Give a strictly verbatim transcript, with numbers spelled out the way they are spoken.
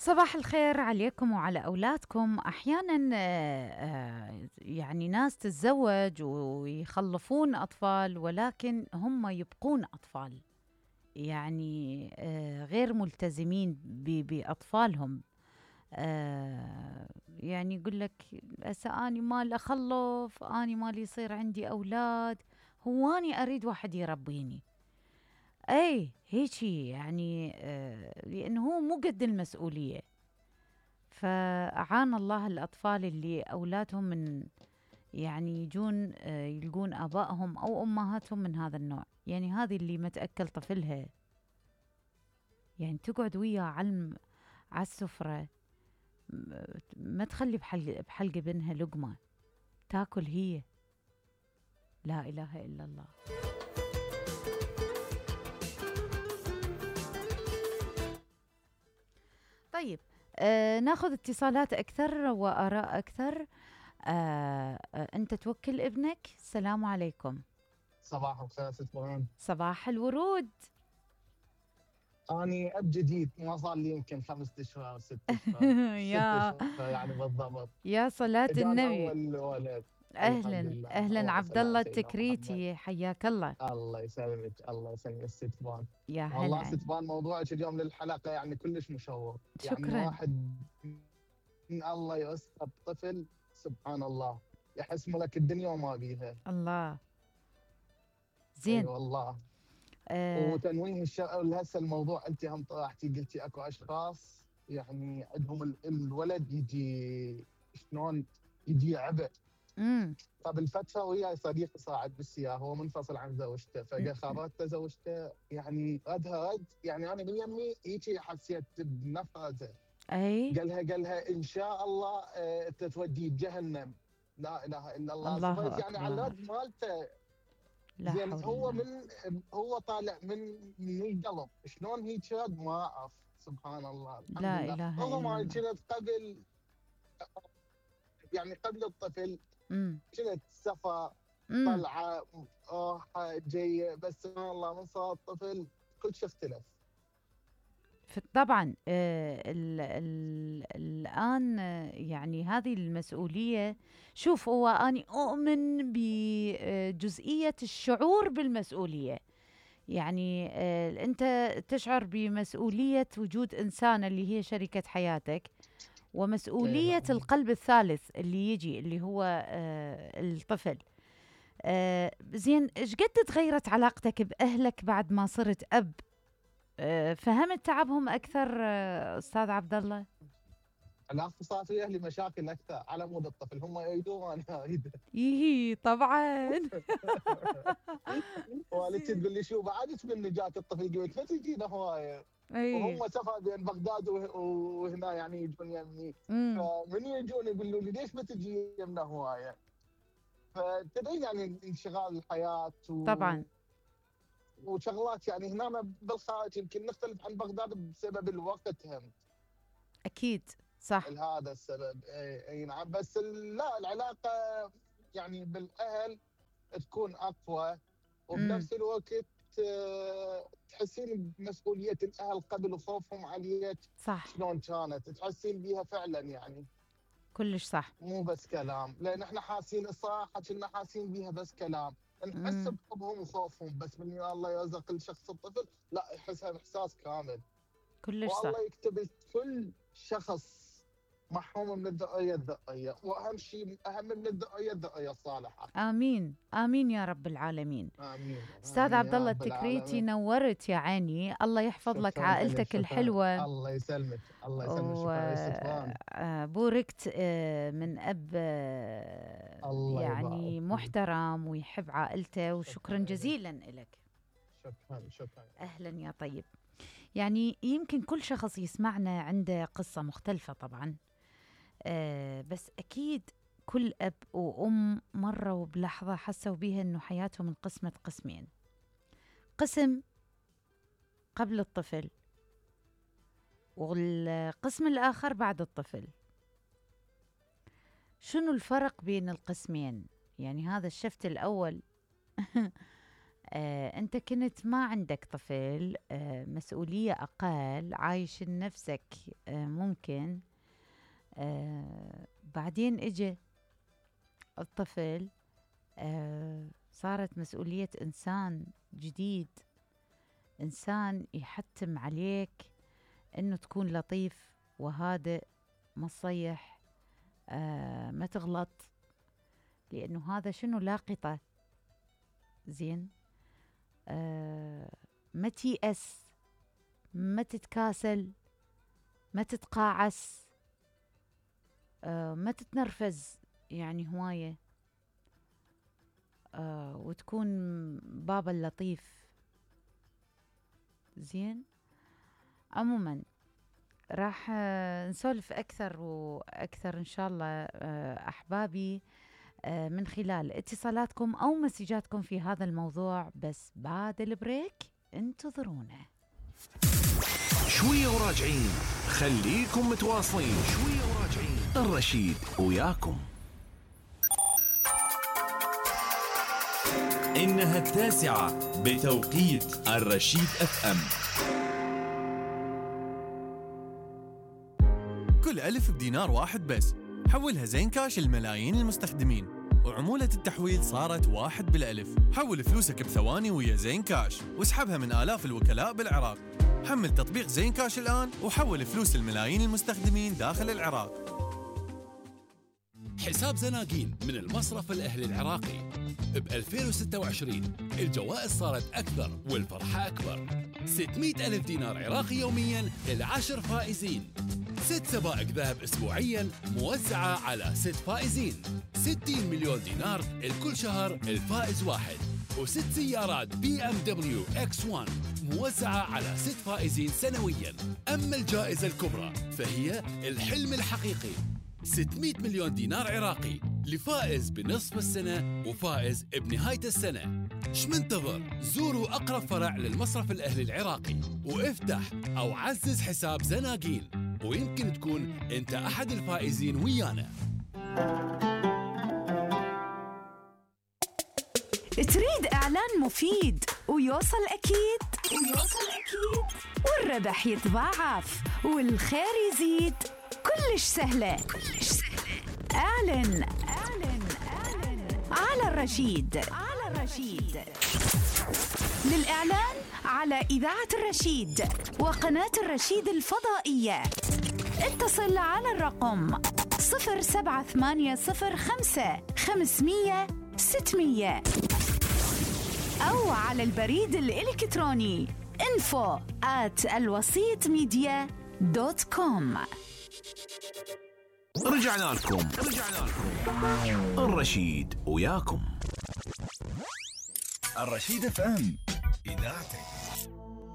صباح الخير عليكم وعلى أولادكم. أحيانا آه، آه، يعني ناس تتزوج ويخلفون أطفال ولكن هم يبقون أطفال، يعني آه، غير ملتزمين ب- بأطفالهم. آه، يعني يقول لك هسه أني مال أخلف، أني مال يصير عندي أولاد، هو أني أريد واحد يربيني. أي هيجي يعني آه، لأنه هو مو قد المسؤولية. فأعان الله الأطفال اللي أولادهم من يعني يجون آه، يلقون آبائهم أو أمهاتهم من هذا النوع. يعني هذه اللي ما تأكل طفلها، يعني تقعد وياه على على السفرة، م- ما تخلي بحلق بحلق ابنها لقمة تاكل هي. لا إله إلا الله. طيب، آه ناخذ اتصالات أكثر وآراء أكثر. آه آه أنت توكل ابنك. السلام عليكم. صباح الخير ست فرحان. صباح الورود. اني اب جديد، ما صار لي يمكن خمسة اشهر ست اشهر ست يا اشهر يعني بالضبط. يا صلاة اجاني النبي. اول ولد. الحمد أهلا لله، أهلا اللهم عبد صل الله على سيدنا محمد. التكريتي، حياك الله. الله يسلمك، الله يسلمك ست فرحان. يا والله هلا. ست فرحان، موضوعك اليوم للحلقه يعني كلش مشوق. يعني شكرا. واحد من الله يوسف طفل، سبحان الله، يحس ملك الدنيا وما بيها. الله. اي زين. والله. آه. وتنويه الشغل هسه الموضوع، انت هم طرحتي قلتي اكو اشخاص يعني عندهم ال- الولد يجي شلون، يجي عبء. امم. قبل فتره وياي صديقي صاعد بالسياره، هو منفصل عن زوجته، فجاه خابرته زوجته يعني ردها رد، يعني انا من يمي هيك حسيت بنفرته. أي. قالها قالها ان شاء الله آه، انت توديه جهنم. لا اله الا الله. الله صفيت يعني على أكبر. الرد مالته. لا زين حول هو الله. من هو طالع من من القلب، شلون هيك رد ما اعرف. سبحان الله، الحمد لا لله. إله رغم إلا انا الله. كنت قبل، يعني قبل الطفل امم. كنت سفر، امم. طلعه، راحه جايه، بس سبحان الله من صار الطفل كل شيء اختلف. ف- طبعا آه ال ال الآن آه، يعني هذه المسؤولية. شوف، هو أنا أؤمن بجزئية الشعور بالمسؤولية. يعني آه أنت تشعر بمسؤولية وجود إنسان اللي هي شريكة حياتك، اي ومسؤولية نعم. القلب الثالث اللي يجي اللي هو آه الطفل. آه زين، ايش قد تغيرت علاقتك بأهلك بعد ما صرت أب؟ آه فهمت تعبهم أكثر آه أستاذ عبد الله؟ علاقتي صار في اهلي مشاكل اكثر على مود الطفل، هم يريدون وانا اريد. إيه طبعا. والدتي زين. تقول لي شو بعدك من نجاة الطفل، قلت ما تجينا هوايه. اي. وهم سفر بين بغداد وه- وهنا يعني يجون يمي. امم. فمن يجون يقولوا لي ليش ما تجي يمنا هوايه. فتدري يعني انشغال الحياه و... طبعا. وشغلات، يعني هنا بالخارج يمكن نختلف عن بغداد بسبب الوقت هم. أكيد. صح. لهذا السبب اي أي نعم. بس ال- لا العلاقه يعني بالاهل تكون اقوى. امم. وبنفس الوقت آه، تحسين بمسؤوليه الاهل قبل وخوفهم عليك. صح. شلون كانت تحسين بيها فعلا يعني. كلش صح. مو بس كلام، لان احنا حاسين الصراحه كنا حاسين بيها بس كلام. نحس امم. بحبهم وخوفهم، بس من الله يرزق الشخص الطفل لا يحسها باحساس كامل. كلش والله صح. يكتب كل شخص محروم من الذريه الذريه، واهم شيء اهم من الذريه الذريه الصالحه. آمين آمين يا رب العالمين. امين أستاذ امين عبد يا الله رب التكريتي، العالمين. نورت يا عيني. الله يحفظ لك شكرا لك، عائلتك شكرا. الحلوة. الله يسلمك، الله يسلمك. شكرا يا ستوان. وبوركت من أب آه، الله يبارك يعني فيك. محترم ويحب عائلته، وشكرا شكرا لك. جزيلا لك. شكرا شكرا. أهلا يا طيب. يعني يمكن كل شخص يسمعنا عنده قصة مختلفة طبعا. آه، بس أكيد كل أب وأم مروا بلحظة حسوا بيها أنه حياتهم انقسمت قسمين: قسم قبل الطفل، والقسم الآخر بعد الطفل. شنو الفرق بين القسمين؟ يعني هذا الشفت الأول آه، أنت كنت ما عندك طفل، آه، مسؤولية أقل، عايش لنفسك، آه، ممكن آه، بعدين إجا الطفل، آه، صارت مسؤولية إنسان جديد، إنسان يحتم عليك إنه تكون لطيف وهادئ، ما تصيح، آه، ما تغلط، لأنه هذا شنو لاقطة. زين، آه، ما تيأس، ما تتكاسل، ما تتقاعس، آه، ما تتنرفز يعني هواية، آه، وتكون بابا اللطيف. زين، عموما راح آه، نسولف أكثر وأكثر إن شاء الله آه، أحبابي آه، من خلال اتصالاتكم أو مسجاتكم في هذا الموضوع، بس بعد البريك انتظرونا. شوية وراجعين، خليكم متواصلين. شوية وراجعين، الرشيد وياكم. إنها التاسعة بتوقيت الرشيد اف ام. كل ألف بدينار واحد بس، حولها زين كاش لملايين المستخدمين، وعمولة التحويل صارت واحد بالألف. حول فلوسك بثواني ويا زين كاش، واسحبها من آلاف الوكلاء بالعراق. حمل تطبيق زين كاش الآن وحول فلوس الملايين المستخدمين داخل العراق. حساب زناقين من المصرف الأهلي العراقي. ب ألفين وستة وعشرين الجوائز صارت أكثر والفرحة أكبر. ستمئة ألف دينار عراقي يومياً للعشر فائزين. ست سبائك ذهب أسبوعياً موزعة على ست فائزين. ستين مليون دينار لكل شهر الفائز واحد. وست سيارات بي ام دبليو اكس واحد موزعة على ست فائزين سنوياً. أما الجائزة الكبرى فهي الحلم الحقيقي، ستمئة مليون دينار عراقي لفائز بنصف السنة وفائز بنهاية السنة. ايش منتظر؟ زوروا أقرب فرع للمصرف الأهلي العراقي وافتح أو عزز حساب زناقين، ويمكن تكون أنت أحد الفائزين ويانا. تريد إعلان مفيد ويوصل أكيد ويوصل أكيد والربح يتضاعف والخير يزيد؟ كلش سهلة كلش سهلة. اعلن اعلن اعلن على الرشيد على الرشيد. للإعلان على إذاعة الرشيد وقناة الرشيد الفضائية اتصل على الرقم صفر سبعة ثمانية صفر خمسة خمسمية ستمية أو على البريد الإلكتروني info at الوسيط ميديا دوت كوم. رجعنا لكم رجعنا لكم الرشيد وياكم. الرشيد اف ام، إذاعتك.